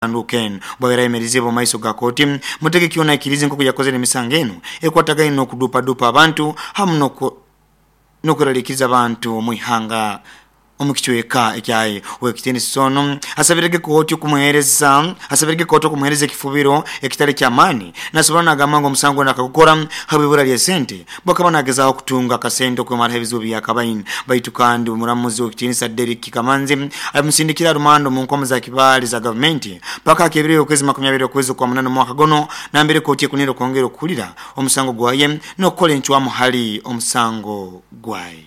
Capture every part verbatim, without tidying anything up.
Ken bwabera yemerize mu maiso ga kooti. Mutegeki ono aikirize nkoku yakozere emisango enu ekwatagaine n'okudupadupa abantu hamu n'okweraliikiriza abantu mwihanga omukicweka ekyaye. Owekitiinisa ono asabirege kooti okumuhereza asabirege kooti okumuhereza ekifubiro ekitali kyamaani. Nasobora nagamba ngu omusango gwona akagukora habw'ibura ly'esente, bwakaba nagezaho kutunga akasente okwemaraho ebizibu byakabaine. Baitu kandi omuramuzi owekitiinisa Derrick Kamanzi amusindikira rumanda omu nkomo za kibaale za gavumenti paka akebire okwezi makumi abiri okwezi kwa munana omwaka guno, nambere kooti ekunire okwongera okuhurira omusango gwaye n'okukora encwamu hali omusango gwaye.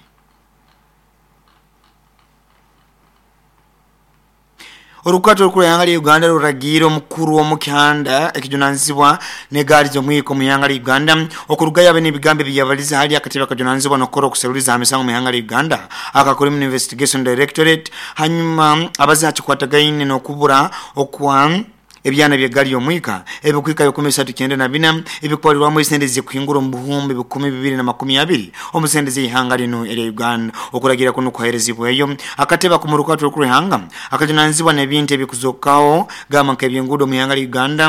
Orukato orukuru ihanga lya Uganda ruragiire omukuru w'omukihanda ekijunanizibwa n'egaari z'omwika omu ihanga lya Uganda okurugayo abe n'ebigambo ebiyabalize hali akatebe akajunanizibwa n'okukora okuseruliza aha misango mu ihanga lya Uganda aka Criminal Investigation Directorate, hanyuma abaze hakikwatagaine n'okubura okwa ebyana by'egaari y'omwika ebikuhika bikumi bisatu kyenda na bina ebikutwarirwamu esente zikuhingura omu buhumbi bikumi bibiri na makumi abiri omu sente z'ihanga linu erya Uganda. Okuragira kuno kuherezibweyo akatebe ak'omu rukato orukuru ihanga akajunanizibwa n'ebintu ebikuzokaho gamba nk'ebyenguudo mu ihanga lya Uganda,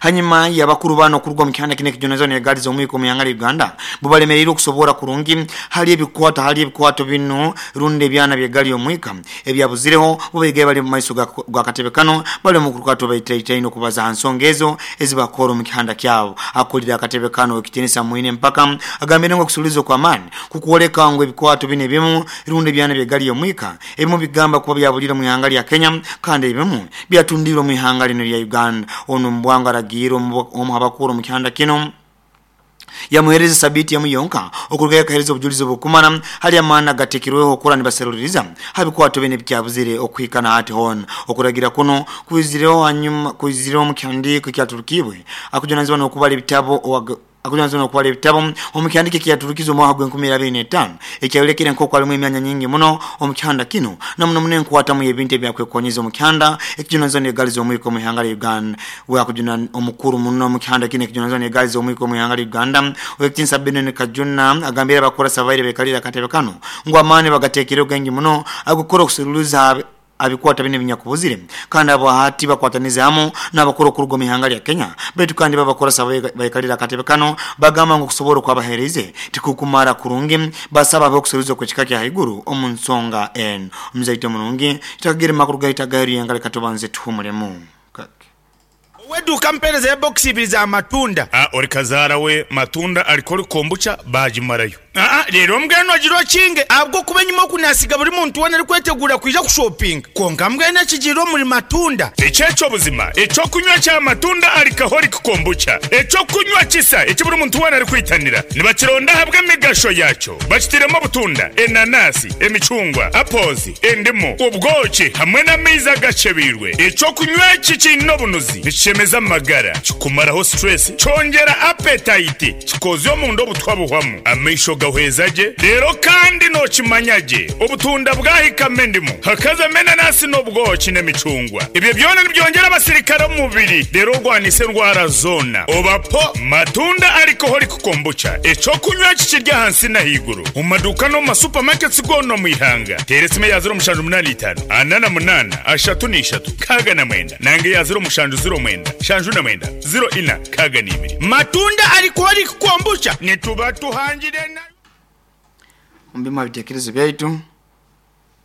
hanyuma y'abakuru bano okuruga omu kihanda kinu ekijunanizibwa n'egaari z'omwika omu ihanga lya Uganda bubalemereirwe okusobora kurungi hali ebikwato hali ebikwato binu rundi ebyana by'egaari y'omwika ebyabuzireho. Bubaigaye bali omu maiso g'akatebe kano bali omu rukato baitaitaine okubaza aha nsonga ezo ezibakora omu kihanda kyabo. Akulira akatebe kano owekitiinisa Mwine Mpaka agambire ngu okusuuliza okw'amaani kukwoleka ngu ebikwato binu ebimu rundi ebyana by'egaari y'omwika ebimu bigamba kuba byabulire omu ihanga lya Kenya kandi ebimu byatundiirwe omu ihanga linu erya Uganda. Ono omu bwangu aragiire omu habakuru omu kihanda kino yamuhereza sabiiti emu yonka okurugayo akahereza obujulizi obukumara hali amaani agateekirweho okura nibaseruliriza ha bikwato binu ebikyabuzire okuhika na hati hoona. Okuragira kuno kwizireho hanyuma kwizireho omu kihandiiko ekyaturukibwe akujunanizibwa n'okubara ebitabo akujunanizibwa n'okubara ebitabo omu kihandiiko ekyaturukizwe omwaka gw'enkumi abiri n'etaano ekyayolekere nk'oku harimu emyanya nyingi muno omu kihanda kino na muno muno enkwatamu y'ebintu ebyakwekonyeza omu kihanda ekijunanizibwa n'egaari z'omwika omu ihanga lya Uganda. We akujuna omukuru muno omu kihanda kino ekijunanizibwa n'egaari z'omwika omu ihanga lya Uganda owekitiinisa Benon Kajuna agambire abakurasa babaire bekalire akatebe kano ngu amaani bagateekireho gaingi muno ag'okukora okuseruliza abikwata bino ebinyakubuzire kandi abo hati bakwatanize hamu n'abakuru okuruga omu ihanga lya Kenya. Baitu kandi babakurasa baikalire akatebe kano bagamba ngu okusobora okwabahereize tikukumara kurungi, basaba abe okuseruliza okw'ekika kya haiguru omu nsonga enu. Omuzaito murungi tutakagira makuru gaitu agaheru yenga leka tubanze tuhumulemu. Oweduuka mpereza ebokisi ibiri za matunda. Ah, ori kazaara we matunda alikoli kombucha bagimarayo. Aa, leero mbwenu ogira okinge ahabw'okuba enyima oku nasiga buri muntu weena arikwetegura kwija kushopinga. Kwonka mbwenu ekigiire omuri matunda. Ekyekyo buzima ekyokunywa kya matunda alcoholic kombucha, ekyokunywa kisa eki buri muntu weena arikwitanira nibakironda ahabw'emigasho yakyo. Bakitiremu obutunda, enanasi, emicungwa, apples, endimu, obwoki hamwe n'amaizi agacebeirwe. Ekyokunywa eki kiine obunuzi, nikishemeza amagara, kikumaraho stress, kyongera appetite, kikozya omunda obutwa buhwamu, amaisho gahweza gye. Reero kandi nookimanya gye obutunda bwahikamu endimu, hakazamu enanasi n'obwoki n'emicungwa. Ebyo byona nibyongyera abasirikare omu mubiri, reero orwanisa endwara zoona. Obapo matunda alcoholic kombucha, ekyokunywa eki kiri ahansi n'ahaiguru omu maduuka n'omu masupamaketi goona omu ihanga. Teera esimu eya ziro mushanju munaana itaano ana na munaana ashatu n'ishatu nkaaga na mwenda nanga eya ziro mushanju ziro mwenda nshanju na mwenda ziro ina nkaaga n'ibiri. Matunda alcoholic kombucha nituba tuhangire na Omu bimwe aha bitekerezo byaitu.